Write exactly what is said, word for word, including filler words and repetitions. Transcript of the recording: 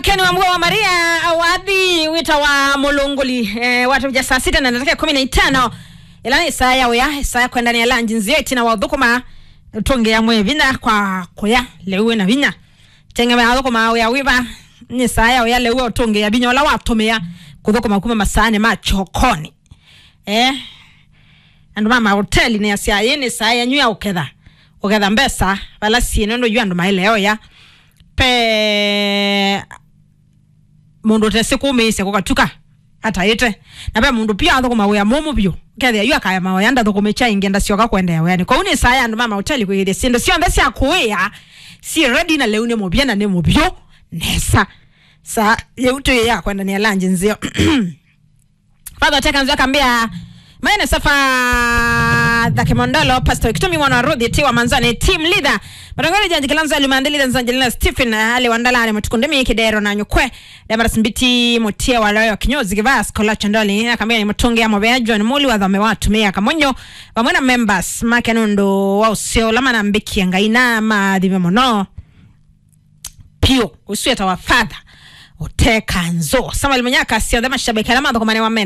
Ken Wambua wa Maria, wathi wĩtawa Mũlũngũli, eh, watũvya saa sita na ndakĩka kũmi na itano. Ĩla nĩ saa ya wĩa, saa ya kwendania lunch nzeo ĩtina wa ũthũkũma, ũtũngĩa mwĩĩ vinya kwa kũya lĩu wĩna vinya. Teng'emea ũthũkũma wĩa wĩva, nĩ saa ya wĩa lĩu ũtũngĩa vinya ũla watũmĩa kũthũkũma kuma masaanĩ ma kyokonĩ. Eh, andũ ma mahoteli nĩ asya, yĩ nĩ saa yenyu ya ũketha, ũketha mbesa vala syĩ, nũndũ yu andũ maĩle oya. Pe mũndũ ũtesĩ kũmĩĩsya kũkatuka ataĩte. Na ve mũndũ pia athũkũma wĩa mũmũ vyũ, kethĩa yu akaya maoya ndathũkũmĩ kya ingĩ ndasyoka kũendeea wĩanĩ. Kwoou nĩ saa ya andũ ma mahoteli kwĩyĩthya syĩndũ syonthe sya kũĩa syĩ ready, na lĩu nĩ mũvya na nĩ mũvyũ nesa. Saa yĩu twĩ ya kwendania lunch nzeo. Father Teka Nzio akambia, maene safa Thake Mondolo, Pastor Kitumi mwana wa Ruthi, Tiwa Manzani, Team Leader. Matongole Janji Kilanzo, Lumande Leader, Nzanji Leader, Stephen, Ali Wandalani, Matukundemi, Kidero na Nyukwe, Damaris Mbiti, Mutie wa Loyo, Kinyozi Kivas, Kola Chandoli, akambia nĩ mũtũngĩa mũvea, John Muli, wa Thome wa Tumia Kamonyo, vamwe na members make nũndũ wa ũseo ũla manambĩkie Ngai na mathime mũno. Piũ, ũsu etawa Father Ũteka Nzũ. Samuel Munyaka, syonthe mashabiki ala mathũkũmane wa mende.